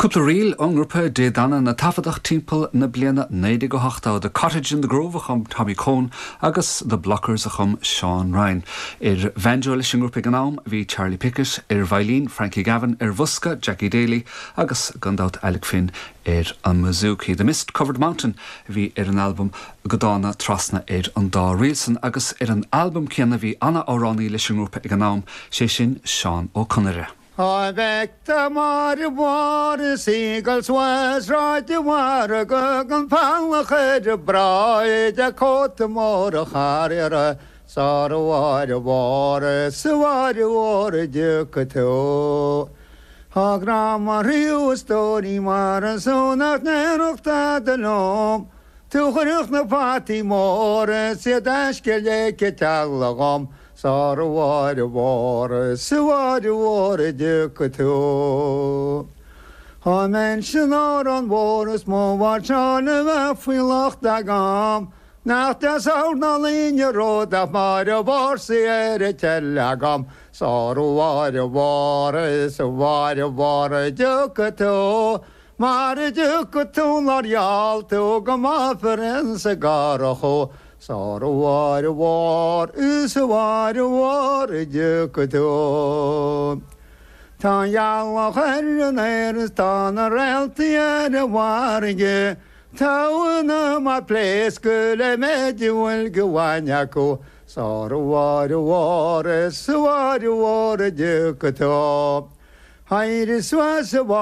Cúpla ríl ón ngrúpa Dé Danann a taifeadadh timpeall na bliana 1980, The Cottage in the Grove a chum Tommy Coen agus The Blockers a chum Seán Ryan. Ar bhanjo leis an ngrúpa ag an am bhí Charlie Pickett, ar veidhlín, Frankie Gavin, ar bhosca, Jackie Daly agus, gan dabht, Alec Finn ar an mbouzouki. The Mist Covered Mountain a bhí ar an albam Go Dána Trasna ar an dá ríl san agus ar an albam céanna bhí ana-amhránaí leis an ngrúpa ag an am, sé sin Seán Ó Conaire. Á bhfeictear Máire Mhór is í ag dul suas Sráid an Mhargaidh gan fallach ar a bráid a cóta mór a charriera sar a Mháire Mhór is a Mháire Mhór a dtiocfaidh tú. Tá grá mo chroí a stóirín mar is tú nach ndéarfadh tada liom Tú chuirfeadh na fataí móra is iad aisce le teaghlach dhom Sar a Mháire Mhór is a Mháire Mhór a dtiocfaidh tú. Dá mbeinnse in Órán Mhór is mo mháirseáil a bheith faoi locht agam, nach deas amharc ná líne rud ach Máire Mhór 's í ar a toil agam. Sar a Mháire Mhór is a Mháire Mhór a dtiocfaidh tú. Mara dtiocfaidh tú nár gheall tú go mbáfar ins an gCurrach thú Sar a Mháire Mhór is a Mháire Mhór a dtiocfaidh tú. Tá an ghealach ar an aer is tá na réaltaí ar an bhfarraige Tá a n-anam ag pléascadh le méid a bhfuil de bhainne acu Sar a Mháire Mhór is a Mháire Mhór a dtiocfaidh tú. Éirigh suas a Mháire.